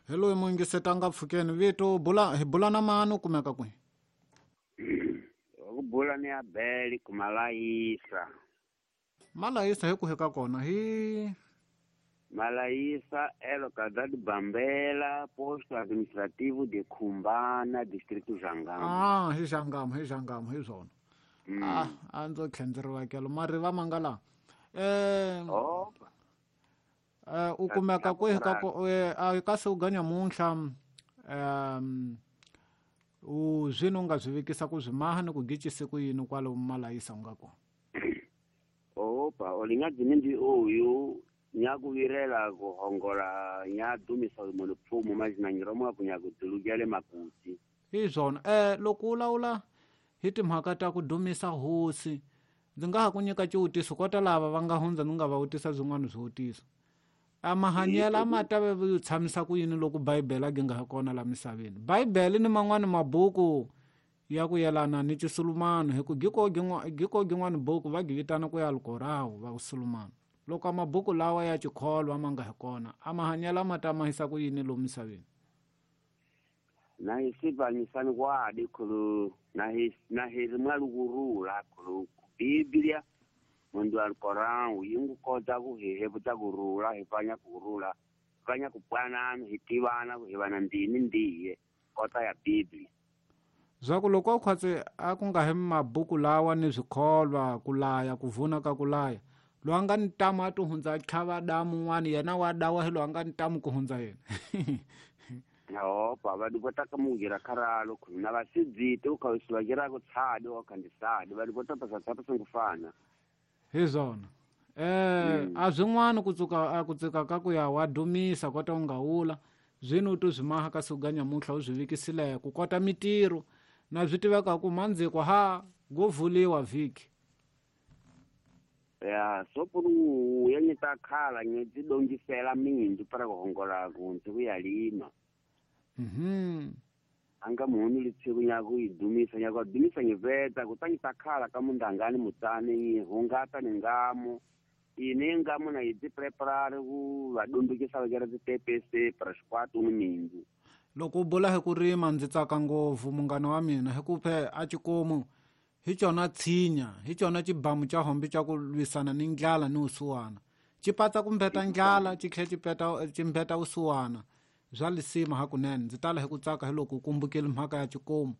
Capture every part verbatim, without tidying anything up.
Hi loyi muyingisetanga pfukeni vito bula hi bula na mani u kumeka kwihi? Ku bula ni Abeli kumalayisa. Malayisa hi ku hika kona hi Malayisa elo Kadadi Bambela, posto administrativo de Khumbana, distrito Jangamo. Ah, hi Jangamo, hi Jangamo, hi swona. Mm. Ah, a ndzo tlhendzeriwa kelo mariva manga la. Eh, Oh, eh u kumeka kwihi ka ko eh, a ka se u ganya munhla um u zwino u nga zwi vekisa ku zwi maha ni ku gicise ku yini kwalo Malayisa u nga kona. Opa, olinga dzimindi uyu nyakuvirela kuhongola nyadumisa munhu pfumo mazinanyiromwa kunyakudzilugele makuti. Hi swona eh loko u lawula hi timhaka ta ku dumisa hosi ndzi nga ha ku nyika xivutiso kota lava va nga hundza ndzi nga va vutisa byin'wana swivutiso. A mahanyelo a ma ta ve u tshamisa ku yini loko Bibele a gi nga ha kona la misaveni. Bibele ni man'wani mabuku ya ku yelana ni Xisulumani hi ku giko gin'wa giko gin'wani buku va gi vitana ku ya Alkorahu va Sulumani. Loko mabuku lawa ya xikholwa ma nga hi kona a mahanyelo a ma ta mahisa ku yini lomu misaveni. Na hi sivanyisani kwadi khulu na hi na hi ri mwalukurula khulu Biblia mundu Alkorahu yi ngu kota ku hi hevuta kurula hi fanya kurula fanya ku pwanana hi tivana ku hi vana ndini ndiye kota ya Biblia. Zwa ku loko khwatse a ku nga hi mabuku lawa ni swikholwa ku laya ku vuna ka ku laya loyi a nga ni ntamu a ti hundza a tlhava damu un'wana yena wa dawa hi loyi a nga ni ntamu ku hundza yena. Opa, va dikota ka mungira kharalo khulu na vasidzite u kha swi va ku tshadi wa khandisadi va dikota pasa tsapa singufana. Hi swona. Eh a swin'wana ku tsuka a ku tsika ka ku ya wa dumisa kota u nga wula zwino u to zwi maha ka siku ga nyamuntlha u zwi vekisile ku kota mitirho na swi tiveka ku mandziko ha go vuliwa vhiki. Ya sopuru ya nyita khala nyedzi dongisela mindu para kuhongola kunzi kuyalima. Mhm. Anga muhunu litshiku nyaku idumisa nyaku adumisa ngiveta kutanyita khala ka mundangani mutani hungata ni ngamo ine ngamo na idzi preparare ku vadundukisa vakera dzitepese para xikwatu ni mindu. Loko u bula hi ku rima ndzi tsaka ngopfu munghana wa mina hi ku phe a xikomu hi xona tshinya hi xona xibamu xa hombe xa ku lwisana ni ndlala ni usuwana xi patsa ku mbeta ndlala xi tlhela xi peta xi mbeta usuwana bya lisima hakunene. Ndzi tala hi ku tsaka hi loko u kumbukile mhaka ya xikomu.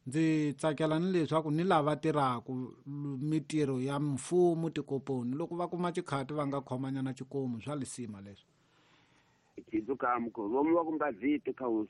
Ndzi tsakela ni leswaku ni lava tirhaka mitirho ya mfumo tikoponi loko va kuma xikhati va nga khomanyana xikomu bya lisima leswi. Khidzuka mukho vomu va kumba zite kha